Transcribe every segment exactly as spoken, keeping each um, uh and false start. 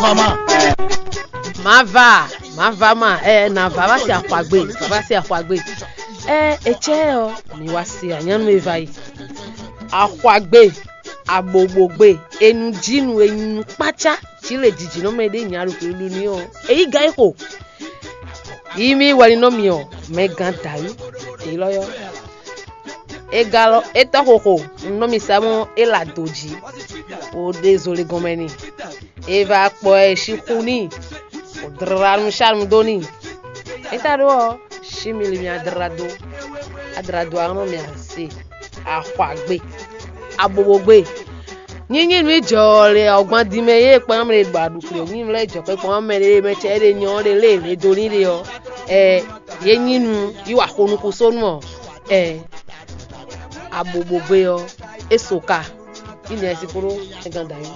Mama. Mava, mava ma, ɛ na va va se axwagbe, va va se axwagbe. Ɛ etsɛ ɔ, mi wa se anyanu e va yi. Axwagbe, abobogbe, enujinu, enyinu kpácá, ci le jijinɔ mɛ ɖe nya ɖo xwlulu ni ɔ, eyi ga yi xo. Yi mi wɛ ni nɔ mi ɔ, mɛ gan dayú, elɔ yɔ. Egalɔ etɔ́ xoxo, un nɔ mi sa mɔ e la do jí, o ɖe zole gɔnmɛ ni. E va kpɔ ɛ sixú n'i, o dra nu sanu dó n'i. E ta ɖó ɔ, si mi li mi adra dó, adra dó ahnɔ mi ase, axwagbe, abobogbe. Nyinyi nu jɔ lɛ ɔgban din mɛ ye kpɔn mɛ ɖe ɖo aɖukle, nyinyi lɛ jɔ kpɛ kpɔn mɛ ɖe mɛ cɛ ɖe nyɔ ɖe lé le do ní ɖe ɔ, ɛ ye nyi nu yi wa xo nukúnsónú ɔ, ɛ abobogbe ɔ, é so ka. Ine ɛ si kúrú ɛ gan dǎ yi.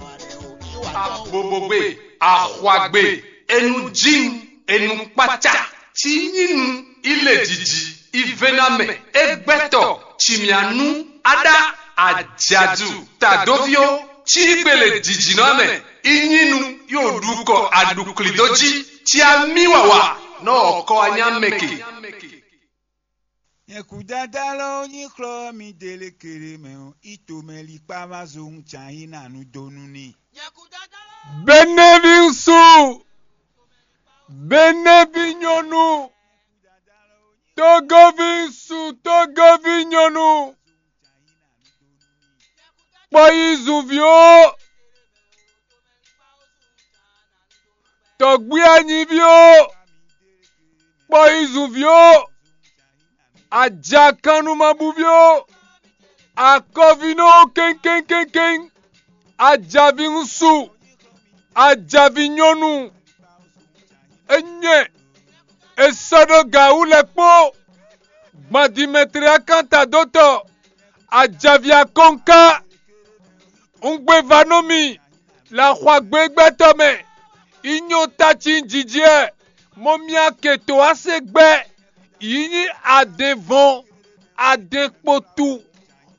Abobogbe, axwagbe, enujinu, enukpácá, ci nyinu, ilejiji, ivenamɛ, egbɛtɔ, cimianu, aɖa, ajadu, tadoviwo, ci gbele jijinɔ mɛ, inyinu, yo ɖukɔ aɖuklidó jí, ci amí wawa, nɔ ɔkɔ anyá mɛ ke. Nyɛ kú dáadáa lɔ nyí xlɔ́ mi délé kéré mɛ ɔ́, í tomɛ líkpá ma zó ŋu cǎ yí nǎ nu dó nú n'i. Benevi ŋsu, Benevi nyɔnu, Togovi ŋsu, Togovi nyɔnu, kpɔ yi zunví ó, tɔgbí anyíví ó, kpɔ yi zunví ó, ajakannumabúví ó, akɔvínɔ ó kéŋkéŋkéŋkéŋ, ajaví ŋsu, ajaví nyɔnu, enyɛ è sɔ́ ɖó gǎ wú lɛ́ɛ kpó, gbadimɛtri akánta dó tɔ, ajaví akɔnká, un gbé va nú mi le axwagbégbɛ́tɔ́ mɛ, yi nyɔ́ taci jijɛ, mɔ mia ke to wá se gbɛ́, yi nyí adɛnvɔn, adɛnkpotu,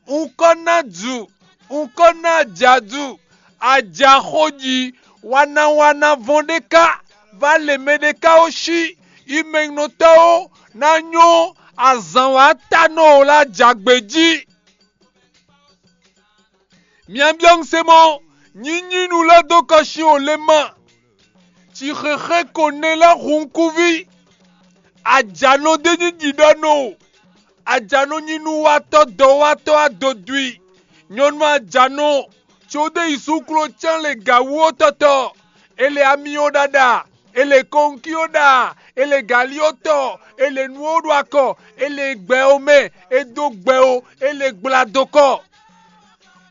un kɔ́ ná ju, un kɔ́ ná jadu, ajaxoji, wanawana vɔn ɖé ká, va lě mɛ ɖé ká ó cí, yi mɛnɔtɔ́ ó ná nyɔ́ azǎn wá ta nɔ ó lá jǎgbé jí. Mia byɔ́ un se mɔ, nyinyi nu lɛ́ dó kɔsin o le ma, ci xexé ko nɛ lɛ́ hun kúví, ajǎnɔ d'é nyí ɖiɖɔnɔ o, ajǎnɔ nyí nuwatɔ́ dɔwatɔ́ adodwi, nyɔnu ajǎnɔ, có ɖé yi súklo cán le gǎwú ó tɔtɔ, è lɛ amyɔ ɖaɖa, è lɛ kɔnkí ó ɖa, è lɛ galí ó tɔ, è lɛ nǔ ó ɖo akɔ, è lɛ gbɛ ó mɛ, è dó gbɛ ó, è lɛ gbla dó kɔ.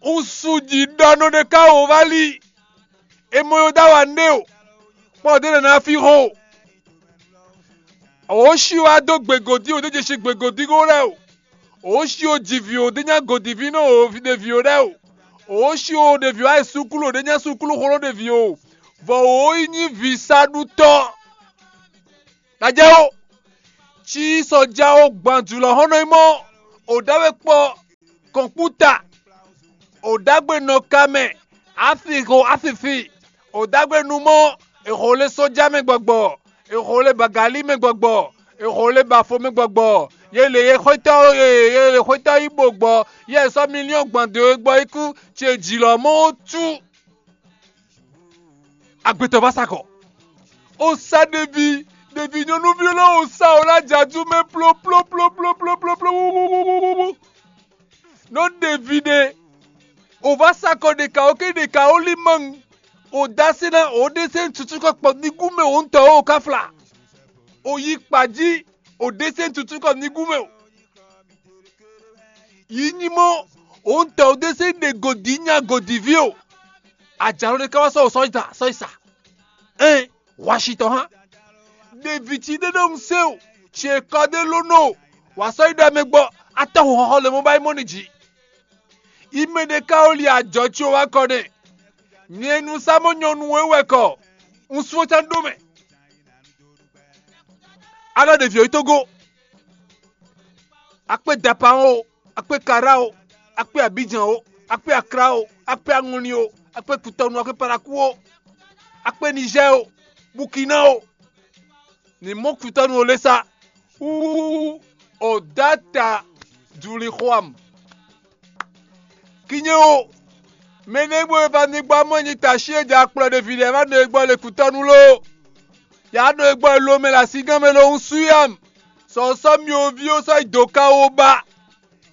Un su ji ɖɔ nɔ ɖe ká wǒ vá lí. È mɔ yó dó awa nɖé o, kpɔ́ ɖě nǎ ná fí xó. Ǒ shi wá dó gběgǒdí o, ɖé je si gběgǒdí xó lɛ́ɛ o. Ǒ shi o ji vǐ o, ɖé nyá gǒdíví nɔ o ɖe vǐ o lɛ́ɛ o. Ǒ shi o ɖe vǐ o ayɛ súkúlu o, ɖé nyá súkúlu xó nɔ ɖe vǐ o. Vɔ ǒ yi nyí vǐ sa ɖu tɔ́. Ná jɛ ó. Cí sɔ́ já ó gban jǔlɔ́hɔ́nnɔ e mɔ o ɖǎwe kpɔ kɔ̌nkúta, o ɖǎgbe nɔ ka mɛ, afixo afifi, o ɖǎgbe nu mɔ, è xo lé sɔ́já mɛ gbɔgbɔ, è xo lé bagalí mɛ gbɔgbɔ, è xo lé bafo mɛ gbɔgbɔ, yě lě yě xwétɔ́ yě lě xwétɔ́ yí bo gbɔ, yě sɔ́ milíɔn gbɔn dǒ é gbɔ é kú, ce jǐ lɔ mɔ ó tú. Agbetɔ va sa kɔ. O sa ɖevi, ɖevi nyɔnuví lɔ o sa o la jaju mɛ ploploploploploploplo. Nɔ ɖevi ɖe, o va sa kɔ ɖeka o ke ɖeka o li maŋ. O da se na o ɖe se tutu kɔ kpɔ nigu mɛ o ŋutɔ o ka fla. O yi kpa jí, o ɖe se tutu kɔ nigu mɛ o. Yi nyi mɔ, o ŋutɔ o ɖe se ɖe godi nya godiví o. Ajalo ɖe ka wá sɔ o sɔ yi da sɔ yi sa. Ɛn, hwashi tɔn hã. Ɖevi ci ɖe ɖo un se o, ce kɔ ɖe ló nɔ o, wǎ sɔ́ yi ɖɔ mɛ gbɔ, atɔ́ xɔxɔ le mɔ ba yi mɔ ni jí. Yi mɛ ɖe ka o li ajɔ ci o wá kɔ nɛ. Nyɛ nu sa mɔ nyɔnu e wɛ kɔ, un sún can ɖó mɛ. A ɖɔ ɖevi ɔ́ yi tógó, a kpé Dapan o, a kpé Kará o, a kpé Abidjan o, a kpé Akra o, a kpé Aŋlin o, a kpé Kutɔnu, a kpé Paraku o. Akpé Nizɛ́ɛ o, Bukina o, ní mɔ kutɔ́nu o lɛ́ sá. Wú o dó ata juli xo am. Kinye o, mɛ ɖé bó e va ní gbɔ amɔ́ nyi tashi e jɛ akplɔ ɖe vǐ lɛ́ɛ va nɔ e gbɔ le kutɔ́nu ló. Yǎ nɔ e gbɔ lo mɛ le asígán mɛ lo un sú yam. Sɔ̌sɔ́ myoví ó sɔ́ yi dǒ ká ó ba.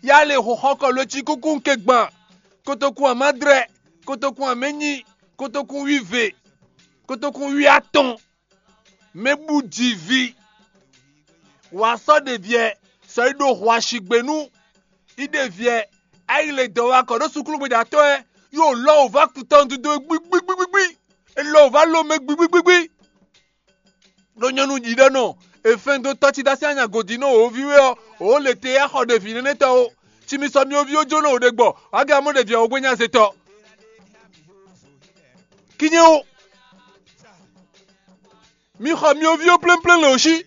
Yá le xɔxɔkɔ lo cí kúkú un ke gban. Kotokun amádrɛ, kotokun amɛnyí, kotokun wíve, kotokun wíatɔn. Mɛ bú ji vi. Wǎ sɔ́ ɖeviɛ sɔ́ yi ɖo hwaṣigbe nú. Yi ɖeviɛ ayi le dɔwakɔ ɖó sukúlugbeɖatɔ́ ɛ yóò lɔ wò vá kutɔn dúdú gbígbígbígbí. È lɔ wò vá lomɛ gbígbígbígbí. Ɖó nyɔ́nu ɖiɖɔ́nɔ è fɛn dó tɔ́ cí dó así anya gǒ jí nɔ wǒ ví wɛ ɔ́, wǒ le te yá xɔ ɖevi nɛnɛ́ tɔn ó. Ci mi sɔ myoví ó jónɔ wǒ ɖe gbɔ, wǎ gǎ mɔ ɖevi ɔ́ wú gbé nya zé tɔ́. Kinye ó. Mi xɔ myoví ó plɛ́nplɛ́n lě ó sí.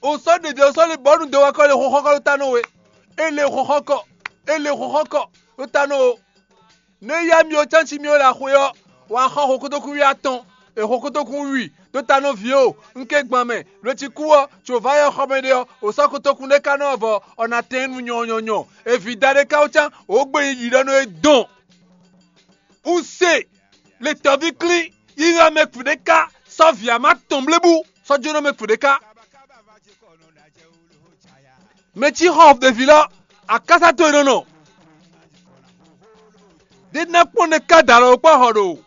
O sɔ́ ɖeɖe o sɔ́ le bɔ̌ nu dɔwakɔ le xɔxɔkɔ ɖó ta nɔ we. E le xɔxɔkɔ, e le xɔxɔkɔ ɖó ta nɔ o. Nú é yá mi o cánci mi o le axwe ɔ́, wǎ xɔ xokótókún wí atɔn, e xokótókún wí ɖó ta nɔ vǐ o, un ké gban mɛ, lo ci kú ɔ́, tso vǎ yɛ xɔ mɛ ɖe ɔ́, o sɔ́ kotókún ɖé ka nɔ vɔ, ɔ na tɛn nu nyɔnyɔnyɔ. E vǐ da ɖé ka ó cán, o gbe yi ɖiɖɔ nú é dɔn. Un se le tɔ́ví klín, yi hɛn mɛ kpǔɖé ká, sɔ́ vǐ ama tɔn blébu, sɔ́ jónɔ mɛ kpǔɖé ká. Mɛ cí xɔ ɖevi lɔ, akásá towe nɔ nɔ. Ɖé ná kpɔ́n ɖe ká da alɔ kpɔ́ xɔ ɖo.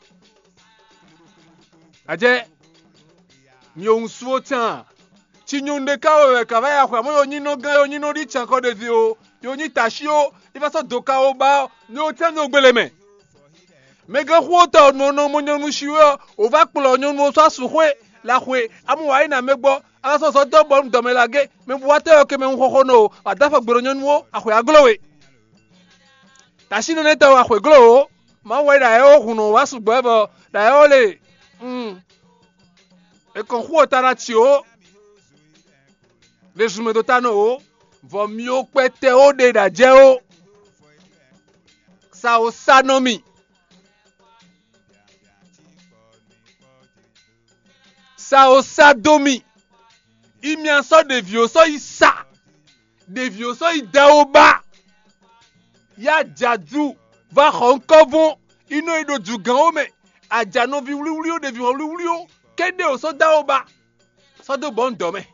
Ajɛ, mi ò ŋu sú ó tán. Ci nyɔnu ɖé ká wɛ wɛ ka vá ya xwɛ, amɔ̌ yo nyí nɔ gán, yo nyí nɔ ɖi can kɔ ɖevi o, yo nyí tashi o, yi va sɔ́ do ka o ba ɔ́, mi ò tán mi ò gbélé mɛ. Mɛ gán xú ó tɔ nɔ nɔ mɔ nyɔnu shi wɛ ɔ́, wǒ vá kplɔ́ nyɔnu ɔ́ sɔ́ asǔxwé la xwe, amú wǎ yi nǎ mɛ gbɔ, a ka sɔ́ zɔ dó bɔ un dɔmɛ la gé, mɛ bu wá tɛ́ ɔ́ ke mɛ hun xɔxɔ nɔ o, a dó afɔ gbe ɖo nyɔnu ó, axwě a gló we. Tashi nɛnɛ tɔn wá xwě gló o, Mawu wɛ ɖo ayɛwo hun nɔ wá sɔgbɔ wɛ bɔ ɖo ayɛwo le. Un, è kɔn xú ɔ́ ta ná ci o, ɖe zun mɛ dó ta nɔ o, vɔ mi ó kpɛtɛ ó ɖe ɖo ajɛ ó. Sa o sa nɔ mì. Sa o sa dó mì. Imia sɔ́ ɖevi ó sɔ́ yi sa. Ɖevi ó sɔ́ yi da ó ba. Ya jadu va xɔ ŋkɔ́vɔn. Inɔ yi ɖo dǔgán ó mɛ. Ajanɔví wlíwlí ó, ɖevi wlíwlí ó, kéɖé ó sɔ́ da ó ba. Sɔ́ dó bɔ un dɔ̌ mɛ.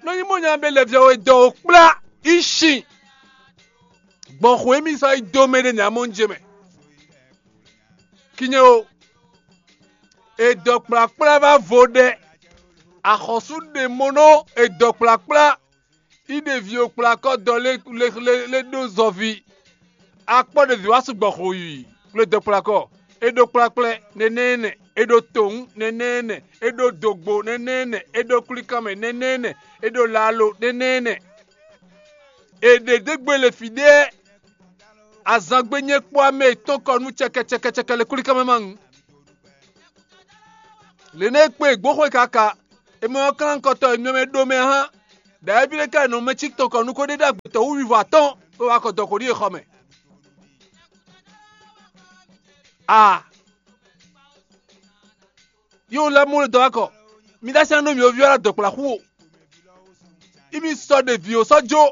Nɔ nyí mɔ nya be lɛ via we dɔ o kplá. Ishi. Gbɔn xwe mi sɔ́ yi dó mɛ ɖé nya mɔ un jɛ mɛ. Kinye o. Edɔ kplakpla va vo ɖɛ. Axɔsú ɖe mo nɔ edɔ kplakpla. Yi ɖe vi o kplakɔ dɔ lé lé lé lé ɖó zɔvi. Akpɔ ɖe vi wá sugbɔ xo yi kple dɔ kplakɔ. E ɖó kplakplɛ nɛnɛ nɛ, e ɖó towun nɛnɛ nɛ, e ɖó dogbo nɛnɛ nɛ, e ɖó kwlíkanmɛ nɛnɛ nɛ, e ɖó lalo nɛnɛ nɛ. È ɖě dó gbe le fǐɖé azangbe nyɛ kpó amɛ yětɔn kɔ nú cɛkɛcɛkɛcɛkɛ le kwlíkanmɛ ma ŋu. Lě nɛ́ e kpé gbǒxwe kaka, è mɔ ɔ́ klán kɔtɔ e myɔ mɛ ɖó mɛ hán, ɖo ayɛví ɖé ká nɔ mɛ cí tɔn kɔ nukó ɖé ɖó agbětɔ́ wú wivo atɔ́ɔ́n bó wá kɔ dɔkɔ́ ɖíe xɔ mɛ. A! Yówun lɛ́ɛ mɔ dɔ̌ akɔ, mi ɖó así ná nú mì oví ɔ́ ná dɔ̌kplá xú o. Imi sɔ ɖe vǐ ó sɔ́ jó,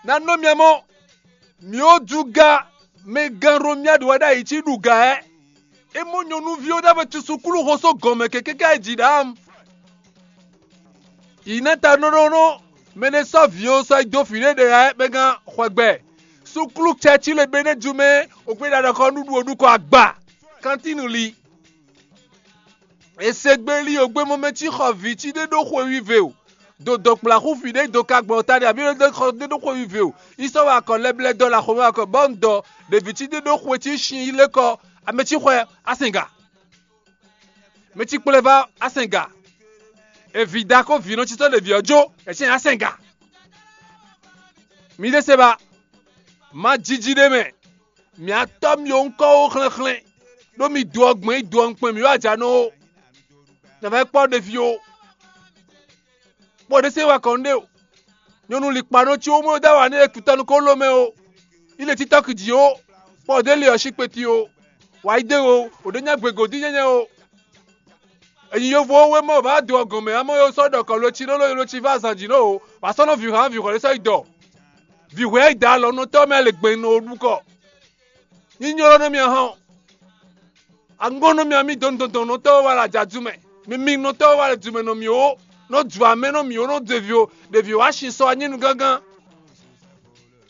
ná nɔ mì amɔ́, mì ó dú ga, mɛ gán Romia ɖo wɛ ɖ'ayǐ cí ɖu gǎ ɛ. É mɔ nyɔ̌nuví ó ɖ'ámɛ cusu klú xo só gɔ̌n mɛ kɛkɛ́ ká yi jǐ ɖǎ. Yi ná ta nɔ́ ɖó nɔ́ mɛ ɖé sɔ́ vǐ ó sɔ́ yi dó fǐ ɖé ɖe ɛ mɛ gán xwɛgbɛ. Súklú cɛ́cí le bɛ́ nɛ́ ju mɛ ògbé ɖaɖɔkɔ nú ɖu ó ɖu kɔ agba. Kantínu li. È se gbe li ògbémɔ mɛ cí xɔ vǐ cí ɖé ɖó xwe wive o. Do dɔkplaxú fǐ ɖé do ka gbɔn ta ɖe abǐ ɖó xɔ ɖé ɖó xwe wive o. Yi sɔ́ wa akɔ lɛblɛ dɔ la xomɛ akɔ bɔ un dɔ ɖe vǐ cí ɖé ɖó xwe cí sin yi lé kɔ amɛ cí xwɛ asɛnga. Mɛ cí kplé vá asɛnga. Evi da kó vǐ nɔ cí sɔ́ ɖe vǐ ɔ́ jó, è cí asɛnga. Mi ɖe se ba. Ma jiji ɖé mɛ. Mǐ atɔ́ mì ó ŋkɔ ó xlɛ́nxlɛ́n, ɖó mi do ɔ́ gbɛn yi do ɔ́ nkpɛn mǐ wá jǎ nɔ ó. Nǎ vɛ́ kpɔ́ ɖevi ó. Kpɔ́ ɖé se wá kɔn ɖé o. Nyɔnu likpanɔ cí ó mɔ dó awa nú é kutɔ́ nukɔn ló mɛ ó. Yi le títɔ́ kì jǐ ó. Kpɔ́ ɖé le ɔ́ sí kpeti ó. Wǎ yi dó o, wǒ ɖé nyá gbegǒ dín nyɛ́nyɛ́ o. Ènyi yovo wé mɔ vǎ do ɔ́ gɔn mɛ, amɔ yó sɔ́ ɖɔ kɔ lo cí ɖó lo lo cí vá zan jǐ nɔ o, wǎ sɔ́ nɔ vǐ hán vǐ hwɛ̌ sɔ́ yi dɔ. Vǐ hwɛ̌ yi da alɔ nɔ tɔ́ mɛ le gbɛn nɔ ɖu kɔ. Nyínylɔ́ nɔ mì ahán o. Angɔ́n nɔ mì amí dɔn dɔn dɔn nɔ tɔ́ wá le ajadu mɛ. Mi mi nɔ tɔ́ wá le du mɛ nɔ mì o. Nɔ du amɛ nɔ mì o, nɔ du evi o. Ɖevi o wá sin sɔ anyínu gángan.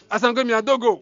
Azangbe mì adógo.